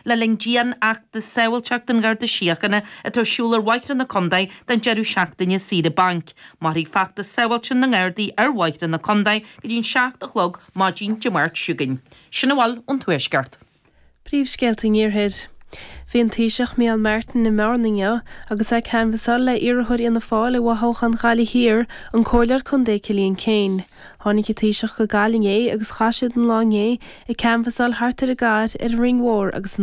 le linn dianfheachtas sábháilteachta an Gharda Síochána atá ar siúl ar bhóithre na contae don deireadh seachtaine saoire bainc. Mairfidh feachtas sábháilteachta na nGardaí ar bhóithre na contae go dtí'n 7 a chlog maidin Dé Máirt seo chugainn. Sin a bhfuil ón Tuaisceart. Príomhscéalta an Iarthair. Bhí an Taoiseach Micheál Martin i mBearna inniu agus é ag canbhasáil le iarrthóir Fhianna Fáil i bhfothoghchán Ghaillimh Thiar, an Comhairleoir Contae Cillian Keane. Tháinig an Taoiseach go Gaillimh inné agus chaith siad an lá inné ag canbhasáil thart ar an gcathair, ar an Rinn Mhór agus in.